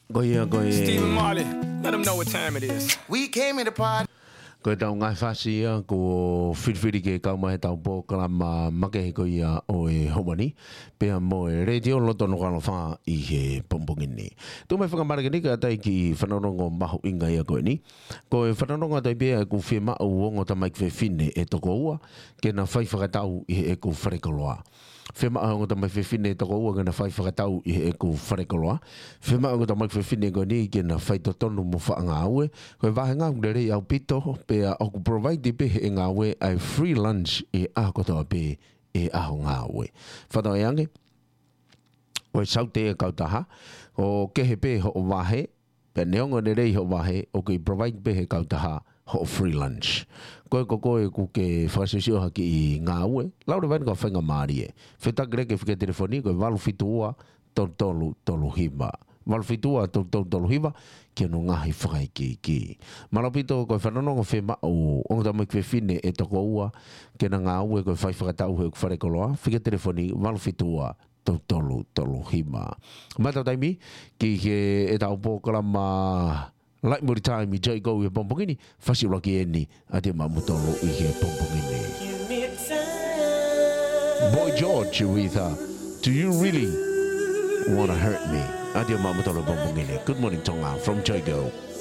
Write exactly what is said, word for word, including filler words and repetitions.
Ko ia, ko e Stephen Marley, let 'em know what time it is. We came in the party. Ko e tau ngaahi fasi ia, ko e filifili ke kau mai he tau polokalama makehe ko ia ʻo e ʻaho ni, pea mo e Letiō Loto Nukuʻalofa ʻi he pongipongi ni. Tuku mai fakamālō eni kae ʻatā ki he fanongo mahuʻinga ia ko eni. Ko e fanongo ʻa e tau pē ʻeku fiemaʻu ongo tamaiki fefine ʻe toko ua, ke na fai fakatau ʻi heʻeku falekoloa. Fiemaʻu ongo tamaiki fefine ʻe toko ua ke na fai fakatau ʻi heʻeku falekoloa. Fiemaʻu ongo tamaiki fefine ko eni ke na fai totonu mo faʻa ngāue. Ko e vāhenga ʻoku lelei ʻaupito, pea ʻoku provide pē ʻe he ngāue ʻa e free lunch ʻi he ʻaho kotoa pē ʻi he ʻaho ngāue. Fakatauange, ko e saute ʻa e kautaha, ʻoku kehe pē hoʻo vahe, pea neongo ʻene lelei hoʻo vahe, ʻoku kei provide pē ʻe he kautaha hoʻo free lunch. Ko e, ko koe ʻoku ke fakasiosio ha kiʻi ngāue, lau leva eni ki he faingamālie. Fetuʻutaki leva ki he fika telefoni, ko e valu fitu ua, tolu tolu tolu hiva. Valu fitu ua, tolu tolu tolu hiva, ki hono ngaahi fakaikiiki. Mālō ʻaupito, ko e fanongo fiemaʻu ongo tamaiki fefine ʻe toko ua, ke na ngāue ko e fai fakatau heʻeku falekoloa, fika telefoni, valu fitu ua, tolu tolu tolu hiva. Mātau taimi, ki he ʻetau polokalama Laʻi Muli Taimi, Joe ʻi he pongipongi ni, fasi ʻuluaki eni, ʻa ia maʻa kimoutolu ʻi he pongipongi ni. Boy George with, uh, Do You Really Wanna Hurt Me? ʻA ia maʻa kimoutolu he pongipongi ni. Good morning, Tonga, from Joe.